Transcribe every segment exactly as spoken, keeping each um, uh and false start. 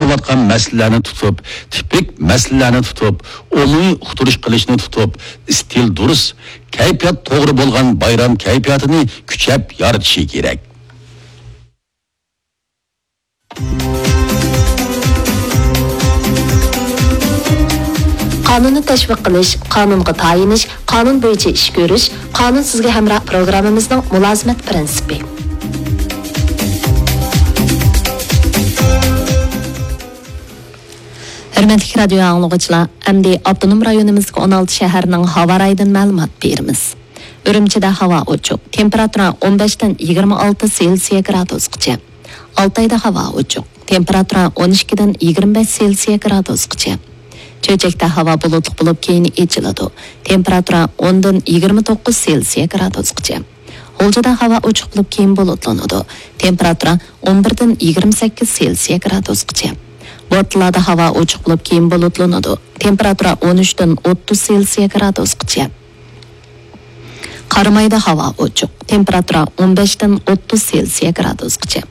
قىلىۋاتقان مەسىلىلەرنى تۇتۇپ، تىپىك مەسىلىلەرنى تۇتۇپ، ئومۇمىي ئۇقتۇرۇش قىلىشنى تۇتۇپ، ئىستىل دۇرۇس، كەيپىيات توغرا بولغان بايرام كەيپىياتىنى كۈچەپ يارىتىشى كېرەك. قانۇننى تەشۋىق قىلىش، قانۇنغا تايىنىش، قانۇن بويىچە ئىش كۆرۈش، قانۇن سىزگە ھەمراھ پروگراممىمىزنىڭ مۇلازىمەت پىرىنسىپى. ھۆرمەتلىك رادىيو ئاڭلىغۇچىلار، ئەمدى ئاپتونوم رايونىمىزدىكى ئون ئالتە شەھەرنىڭ ھاۋا رايىدىن مەلۇمات بېرىمىز. ئۈرۈمچىدە ھاۋا ئوچۇق، تېمپېراتۇرا ئون بەشتىن يىگىرمە ئالتە سېلسىيە گرادۇسقىچە. ئالتايدا ھاۋا ئوچۇق، تېمپېراتۇرا ئون ئىككىدىن يىگىرمە بەش سېلسىيە گرادۇسقىچە. چۆچەكتە ھاۋا بۇلۇتلۇق بولۇپ، كېيىن ئېچىلىدۇ. تېمپېراتۇرا ئوندىن يىگىرمە توققۇز سېلسىيە گرادۇسقىچە. غۇلجىدا ھاۋا ئوچۇق بولۇپ، كېيىن بۇلۇتلىنىدۇ. تېمپېراتۇرا ئون بىردىن يىگىرمە سەككىز سېلسىيە گرادۇسقىچە. بورتالادا ھاۋا ئوچۇق بولۇپ، كېيىن بۇلۇتلىنىدۇ. تېمپېراتۇرا ئون ئۈچتىن ئوتتۇز سېلسىيە گرادۇسقىچە. قارامايدا ھاۋا ئوچۇق. تېمپېراتۇرا ئون بەشتىن ئوتتۇز سېلسىيە گرادۇسقىچە.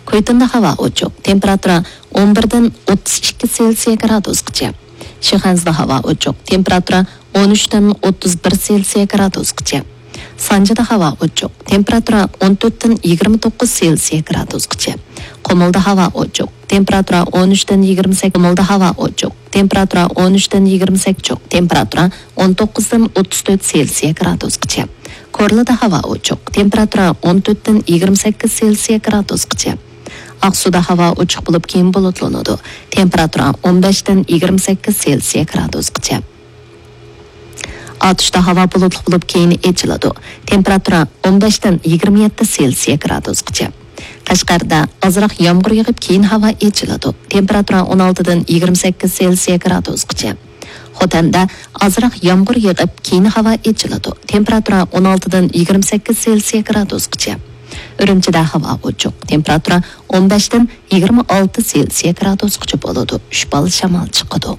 كۇيتىندا ھاۋا ئوچۇق. تېمپېراتۇرا ئون بىردىن ئوتتۇز ئىككى سېلسىيە گرادۇسقىچە. شىخەنزىدە ھاۋا ئوچۇق. تېمپېراتۇرا ئون ئۈچتىن ئوتتۇز بىر سېلسىيە گرادۇسقىچە. سانجىدا ھاۋا ئوچۇق. تېمپېراتۇرا ئون تۆتتىن يىگىرمە توققۇز سېلسىيە گرادۇسقىچە. قۇمۇلدا ھاۋا ئوچۇق. تېمپېراتۇرا ئون ئۈچتىن يىگىرمە سەككىز، قۇمۇلدا ھاۋا ئوچۇق. تېمپېراتۇرا ئون ئۈچتىن يىگىرمە سەككىز، تېمپېراتۇرا ئون توققۇزدىن ئوتتۇز تۆت سېلسىيە گرادۇسقىچە. كورلىدا ھاۋا ئوچۇق. تېمپېراتۇرا ئون تۆتتىن يىگىرمە سەككىز سېلسىيە گرادۇسقىچە. ئاقسۇدا ھاۋا ئوچۇق بولۇپ، كېيىن بۇلۇتلىنىدۇ. تېمپېراتۇرا ئون بەشتىن يىگىرمە سەككىز سېلسىيە گرادۇسقىچە. ئاتۇشتا ھاۋا بۇلۇتلۇق بولۇپ، كېيىن ئېچىلىدۇ. تېمپېراتۇرا ئون بەشتىن يىگىرمە يەتتە سېلسىيە گرادۇسقىچە. قەشقەردە ئازراق يامغۇر يېغىپ، كېيىن ھاۋا ئېچىلىدۇ. تېمپېراتۇرا ئون ئالتىدىن يىگىرمە سەككىز سېلسىيە گرادۇسقىچە. خوتەندە ئازراق يامغۇر يېغىپ، كېيىن ھاۋا ئېچىلىدۇ. تېمپېراتۇرا ئون ئالتىدىن يىگىرمە سەككىز سېلسىيە گرادۇسقىچە. ئۈرۈمچىدە ھاۋا ئوچۇق. تېمپېراتۇرا ئون بەشتىن يىگىرمە ئالتە سېلسىيە گرادۇسقىچە بولىدۇ. ئۈچ بال شامال چىقىدۇ.